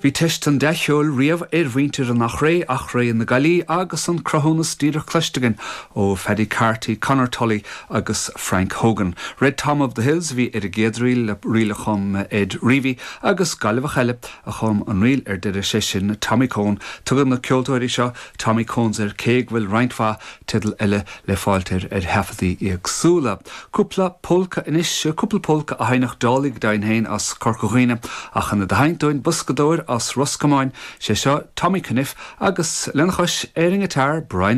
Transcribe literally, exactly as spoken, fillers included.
Bhí teist an dea-cheoil riamh ar mhuintir an Eachréidh, Achréidh na Gaillimhe agus an cruthúnas díreach cloiste againn ó Phaddy Carty, Conor Tully agus Frank Hogan. Red Tom of the Hills bhí ar an gcéad ríl le ríl a chum Ed Reavy agus Gaillimheach eile a chum an ríl ar deireadh sé sin Tommy Coen. Tugann na ceoltóirí seo Tommy Coens air cé go bhfuil roinnt mhaith teideal eile le fáil air ar thaifeadtaí éagsúla. Cúpla polca anois cúpla polca a sheinneadh Dálaigh dain féin as Corca Dhuibhne ach an a haintóin buscadóir as Ros Comáin sé seo Tommy Cunniff agus lena chois ar an ngiotár Brian